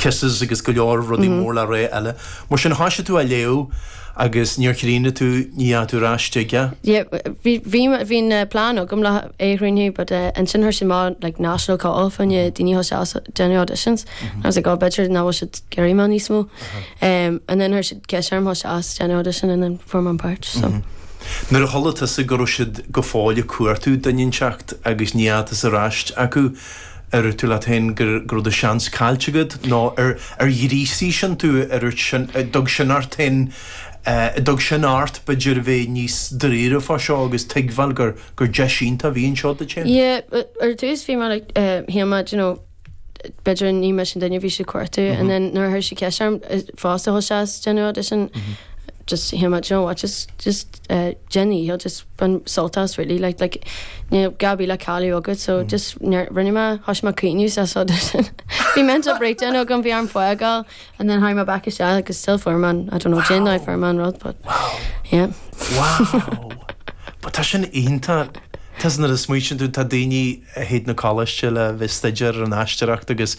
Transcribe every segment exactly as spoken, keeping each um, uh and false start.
Kisses agus go leor rudaí mór le rá eile. Mar sin thosaigh tú a léamh agus níor chríochnaigh tú ní tú ráiste. Yeah, bhí bhí plan agam le é chríochnú, but uh, ansin chuir siad amach like national call fá choinne daoine déanamh auditions. Mm -hmm. I was like, oh, b'fhéidir nach bhfuil siad ag iarraidh mé níos mó. Um, and then chuir siad ceist orm isteach déanamh audition and then fuair mé an páirt. So. Mm -hmm. Nuair a chuala tusa go raibh siad go fóill ag cuartú duine inteacht agus ní fhaca ar ais acu ar tú leat féin gur gur do seans caillte agat nó ar ar ghríosaigh sin tú ar sin dug sin ort féin dug sin ort b'fhéidir bheith níos dáiríre fá seo agus tuigbheáil gur gur deis iontach a bhí anseo duit féin. Yeah, ar dtús bhí mé like shíl mé you know b'fhéidir ní mé an duine bhí siad ag cuartú and then nuair chuir siad ceist orm fosta isteach déanamh audition just shíl mé you know what just just uh, Jenny he'll just bain sult as really like like you know Gabby le cailleadh agat so mm. just rinne mé thosaigh mé ag caoineadh sa audition Bhí mental breakdown agam bhí orm fágáil and then tháinig mé back isteach agus still fuair mé I don't know Jane wow. fuair mé an rud but wow. yeah wow But tá sin iontach Tá nuair a smaoiníonn tú tá daoine a théid na coláiste le bheith staidéar an aisteoireacht agus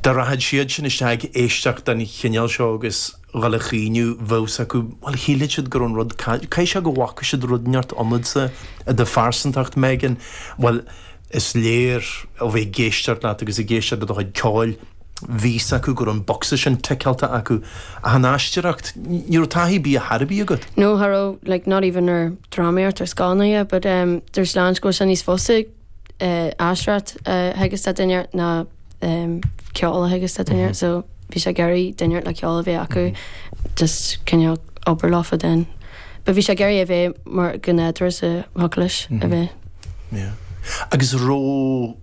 dá rachadh siad sin isteach ag éisteacht den chineál seo agus dhul a chaoineadh bheadh acu well shílfeadh siad gur an rud cai sé go bhfaca siad rud neart ionatsa i do phearsantacht Megan well is léir ó bheith ag éisteacht leat agus ag éisteacht le do chuid ceoil bhí a fhios acu gur an bocsa sin ticeáilte acu a an aisteoireacht ní raibh taithí bí a tharbí agat. No cha raibh like not even ar drámaíocht ar scánaithe but um, there's lean go sin níos fusa uh, aisteoireacht uh, theagasc do dhuine ná um, ceol a theagasc do dhuine mm -hmm. so bhí sé ag iarraidh duine le ceol a bheith acu mm -hmm. just cineál obair leofa den. But bhí sé ag iarraidh a bheith mar gnéadra sa thuclis a bheith. Yeah. Agus raibh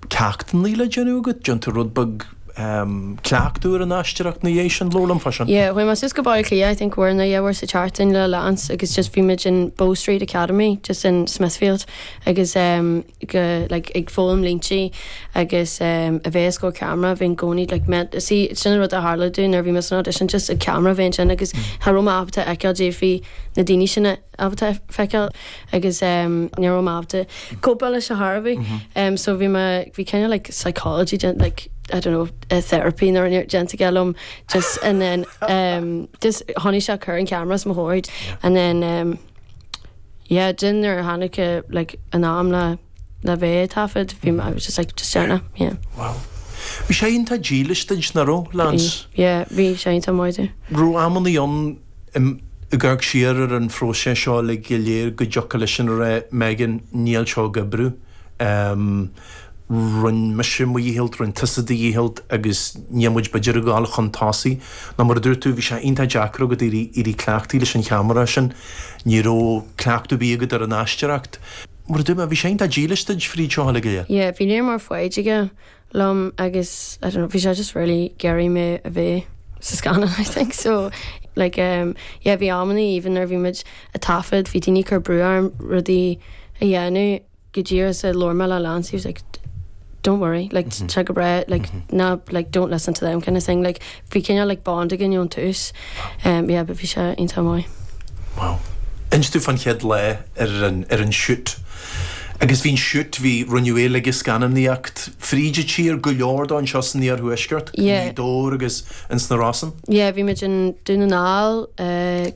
ceachtanna le déanamh agat déanta rud beag um, cleachtadh ar an aisteoireacht na dhéis an lólam fa sin. Yeah, chuaigh mé suas go Baile Átha Cliath, I think uair nó dhá uair sa tseachtain le Lance agus just bhí muid in Bow Street Academy just in Smithfield agus um, go, like, ag foghlaim línte agus um, a bheith go camera bhí'n gcóí like, met, sí sin rud a tharla dúinn nuair bhí mé san audition just a camera bhíon sin agus cha raibh mé ábalta feiceáil défí na daoine sin ábalta feiceáil agus um, ní raibh mé ábalta cóipeáil leis a Harvey mm -hmm. um, so bhí mé bhí kind of like psychology like I don't know a therapy nó déanta liom just and then um, just tháinig sé chur an cameras mo chomhair and then um, yeah din ar tháinig like an am le le bheith taifead bhí I was just like just déanamh yeah. Wow. Bhí sé iontach dílis duit nach raibh Lance? Yeah, bhí sé iontach maith. Raibh amanna ann ag amharc siar ar an phróiseas seo le go léir go dtiocfadh leis sin rá Megan níl seo ag oibriú. Um, Rinne mise mo dhícheall rinne tusa do dhícheall agus níl muid b'fhéidir ag dul chun tosaigh. Ná mar a dúirt tú bhí sé iontach deacair agat éirí éirí cleachtaithe leis an cheamara sin, ní raibh cleachtadh bí agat ar an aisteoireacht. Mar a dúirt mé bhí sé iontach dílis duit fríd seo le go léir. Yeah, bhí léir mar foighid aige liom agus I don't know, bhí sé just really ag iarraidh mé a bheith sa scannán I think so like um, yeah, bhí amanna even nuair bhí muid ag taifead bhí daoine cur brú orm rudaí a dhéanamh go díreach sa labhair mé le Lance he was like don't worry like mm -hmm. go breá like mm -hmm. ná like don't listen to them kind of thing like bhí cineál like bond againn ón tús um, yeah, but bhí sé iontach maith. Wow. Inis tú fan chéad lá ar an ar an shoot. Agus bhí'n shoot bhí rinneadh é le scannánaíocht fríd an tír go leor dó anseo san iarthuaisceart, Yeah. Dór agus in sna Rosann. Yeah, bhí muid in Dún na nGall uh,